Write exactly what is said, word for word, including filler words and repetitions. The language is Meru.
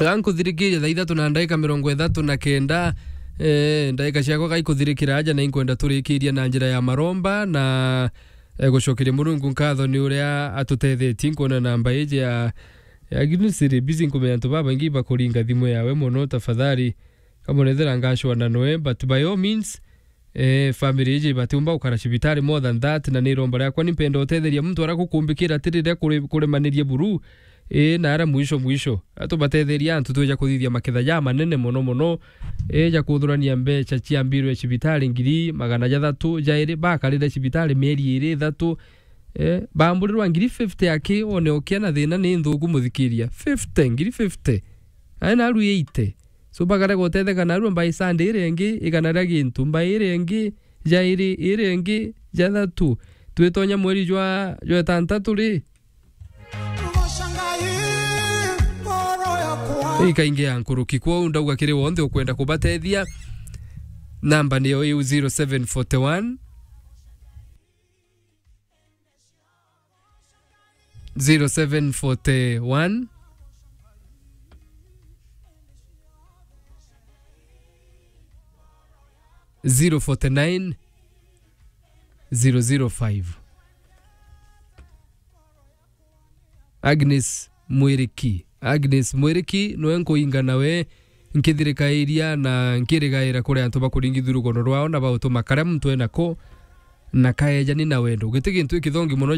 Gankuthirikiria thaa ithatu na ndagika mirongo ithatu na kenda, eh, ndagika ciakwa gaikuthirikira aja, na inkwenda turikiria na njira ya maromba na, eh, gucokeria Murungu nkatho ni uria atutethetie. Nkwona namba iji ya, ya Agnes iri busy, nkumenya antu babaingi bakuringa thimu yawe mono. Tafadhali, kamonethera ngacwana noe, but by all means, eh, family iji batiumba gukara cibitari more than that, na ni iromba riakwa, ni mpenda utetheria muntu aria gukumbikira ati riria kuri-, kuremanirie buru, eh, na aria mwisho mwisho. Atubatetheria antu twija kuthithia maketha ja manene mono mono, eh, ja kuthurania mbeca cia mbirwe cibitari ngiri magana jathatu jairi, bakarire cibitari mieri iri ithatu, eh, bamburirwa ngiri fifty aki, one ukia na thina ni nthuku muthikiria. Fifty, ngiri fifty. Ae naru eighty. So, bakarega gutetheka narua, mbai Sunday iria ingi, igana ria gintu, mbai iria ingi, jairi, iria ingi, jathatu. Twitonya mweri jwa, jwa itantatu ri? Ikaingi ya nkuruki. Kwou ndauga kiri wonthe ukwenda kubatethia, namba niyo iu, zero seven forty one, zero seven forty one, zero forty nine, zero zero five. Agnes Mwiriki. Agnes Mwiriki, nwe nkuinga nawe nkithirikairia na nkirigaira kuri antu bakuringithia rugono rwao na bautuma karia muntu enako na kaejani na wendo. Giti gintu gikithongi mono